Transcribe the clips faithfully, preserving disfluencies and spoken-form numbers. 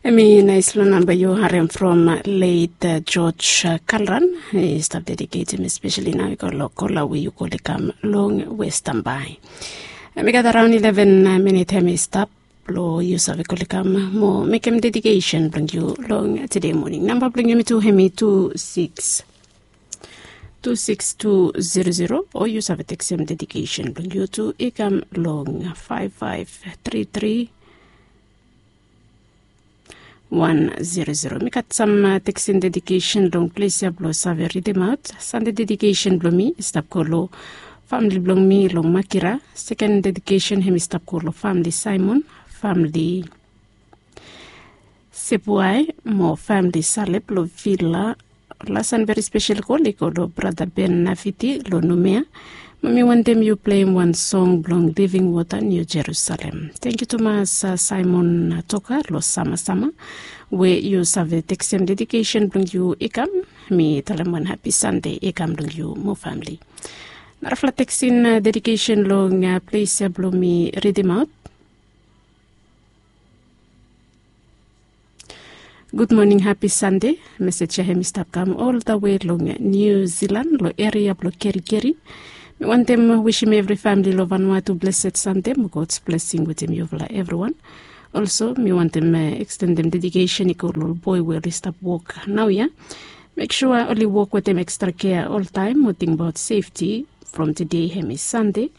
Em i nais long namba yu harim from late George Kalran. I stap dediketim especially nao i go long kola we yu kol i kam long Westan Bai. Em i gat araon eleven minit em i stap blong yu save kol i kam mo mekem dedikesen blong yu long tede moning. Namba blong yumi tu em i tu sikis tu sikis tu zero zero, o yu save teksem dedikesen blong yu tu i kam long faef faef tri tri wan zero zero. Mi gat sam teksen dedikesen long ples ya blong save ridimaot. Sande dedikesen blong mi i stap go long famili blong mi long Makira. Seken dedikesen em i stap go long famili Saimon, famili Sebuai mo famili Salep long Vila. Las and veri spesel kol i go long brata Ben Nafiti long Numea. Mo mi wantem yu pleim wan song blong Living Wota Niu Jerusalem. Tangkiu tumas Saimon Toka long Samasama we yu save teksem dedikesen blong yu i kam. Mi talem wan hapi Sande i kam long yu mo famili. Narafala teksen dedikesen long ples ya blong mi ridimaot. Gud moning, hapi Sande. Mesej ya em i stap kam oldawe long Niu Silan long eria blong Kerikeri. Mi wantem wisim evri famili long Vanuatu blesed Sande mo God's blesing wetem yufala evriwan. Olso mi wantem ekstendem dedikesen i go long ol boe we oli stap wok naoia. Mek sua oli wok wetem ekstra kea oltaem mo tingbaot sefti from tede em i Sande.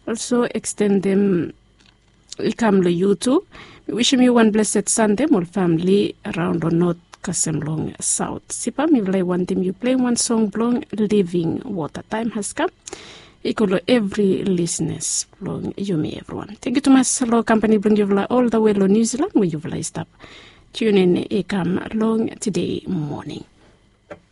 Olso ekstendem i kam long yu tu. Mi wisim yu wan blesed Sande mo ol famili raon long not kasem long saot. Sipa, mifala i wantem yu pleim wan song blong Living Wota. Taem has kam i go long evri lisnas blong yumi evriwan. Tangkiu tumas long kampani blong yufala oldawe long Niu Silan we yufala i stap tiunin i kam long tede moning.